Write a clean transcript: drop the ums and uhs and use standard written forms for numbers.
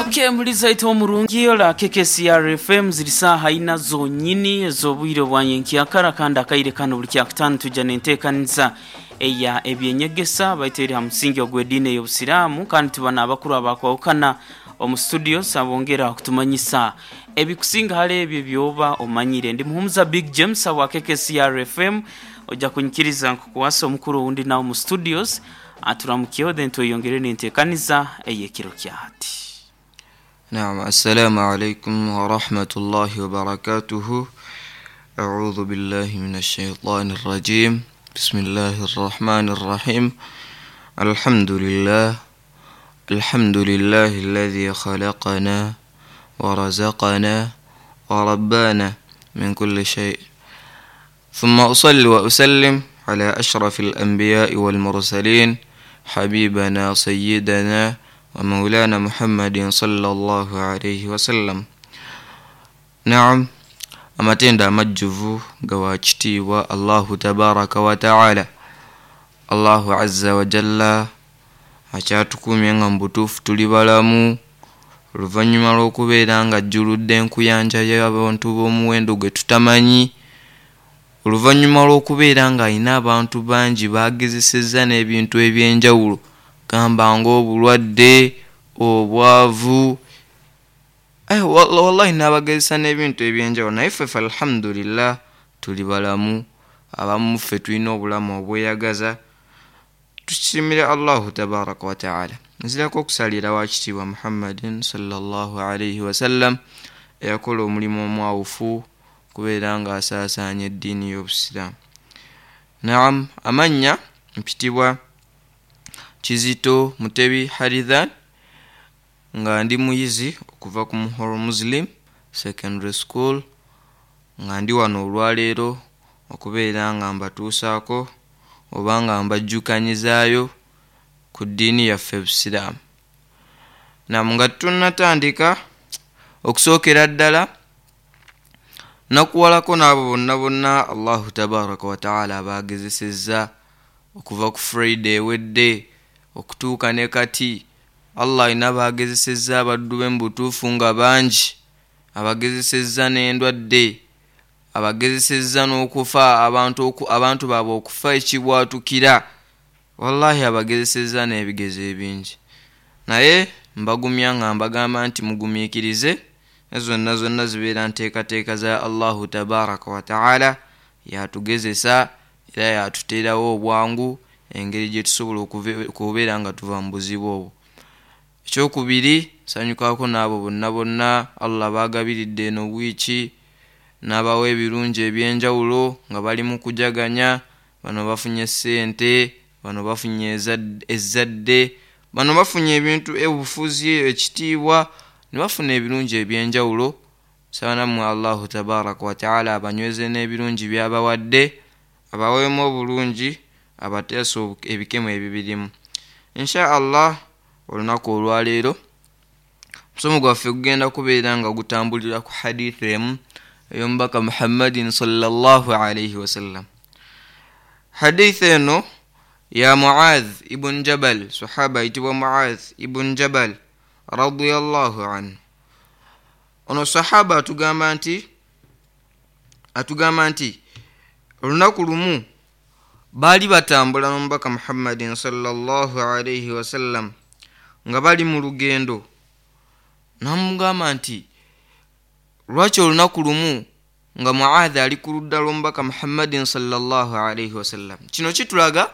Okay, muliza itwe omurungi ola KKCR FM ziri saaha ina zonyini ez'obwire obwa nyenkyakara, kandi akaire kano buli kyakutaano tujja n'enteekaniza eya ebyenyegesa baitu eri ha musingi ogw'ediini ey'Obusiraamu, kandi tuba n'abakuru abakwahukana omu studios abongera kutumanyisa ebikusinga hali ebyo ebyoba omanyire. Ndi Muhumuza Big James awa KKCR FM, ojja kunyikiriza nkukwase omukuru owundi nawe mu studios aturamukyeho then tweyongere n'enteekaniza ey'ekiro kya hati. نعم، السلام عليكم ورحمة الله وبركاته. أعوذ بالله من الشيطان الرجيم. بسم الله الرحمن الرحيم. الحمد لله، الحمد لله الذي خلقنا ورزقنا وربانا من كل شيء، ثم أصلي وأسلم على أشرف الأنبياء والمرسلين حبيبنا سيدنا ومولانا محمد صلى الله عليه وسلم. Naam, amatendo amajjuvu gawa kitiibwa Allahu tabaraka wataala, Allahu azza wajalla akyatukuumye nga mu butuufu tuli balamu oluvannyuma lw'okubeera nga ajjuludde enkuyanja y'abantu b'omuwendo gwe tutamanyi, oluvannyuma lw'okubeera ng'alina abantu bangi baagezesezza n'ebintu eby'enjawulo gamba ng'obulwadde, obwavu, wallahi n'abagezesa n'ebintu eby'enjawulo, naye ffe ffe alhamdulillah tuli balamu, abamu ffe tulina obulamu obweyagaza, tukisimire Allahu tabaraka wataala. Nzirako okusalira wa kitiibwa Muhammadin sallallahu alaihi wasallam eyakola omulimu omwawufu kubeera ng'asaasaanya eddiini y'Obusiraamu. Naam, amannya mpitibwa Kizito Mutebi Harithan, nga ndi muyizi okuva ku Muhoro Muslim Secondary School, nga ndi wano olwaleero okubeera nga mbatuusaako oba nga mbajjukanyizaayo ku ddiini yaffe Busiraamu. Nam, nga tunnatandika, okusookera ddala nakuwalako n'abo bonna bonna Allahu tabaraka wataala abaagezesezza okuva ku Friday ewedde okutuuka ne kati. Allah alina baagezesezza abaddu be mu butuufu nga bangi, abagezesezza n'endwadde, abagezesezza n'okufa, abantu baabwe okufa ekibwatukira, wallahi abagezesezza n'ebigezo ebingi. Naye mbagumya nga mbagamba nti mugumiikirize, zonna zonna zibeera nteekateeka za Allahu tabaraka wataala, yatugezesa era yatuteerawo obwangu engeri gye tusobola okubeera nga tuva mu buzibu obwo. Ekyokubiri, nsanyukako n'abo bonna bonna Allah baagabiridde eno wiiki n'abawa ebirungi ebyenjawulo nga bali mu kujaganya. Bano bafunye ssente, bano bafunye ezzadde, bano bafunye ebintu, obufuzi, ekitiibwa, ne bafuna ebirungi ebyenjawulo. Nsaba nammwe Allahu tabaraka wataala abanyweze n'ebirungi by'abawadde, abaweemu obulungi, abateese ebikemo ebibirimu insha Allah. Olunaku olwaleero omusomo gwaffe gugenda kubeera nga gutambulira ku hadithi emu ey'omubaka Muhammadin sallallahu alaihi wasallam. Hadithi eno ya Muadh ibn Jabal, sahaba ayitibwa Muadh ibn Jabal radiyallahu anhu. Ono sahaba atugamba nti olunaku lumu baali batambula n'omubaka Muhammadin sallallahu alaihi wasallam nga bali mu lugendo, namugamba nti lwaki olunaku lumu nga Muadhi ali ku ludda lw'omubaka Muhammadin sallallahu alaihi wasallam. Kino kitulaga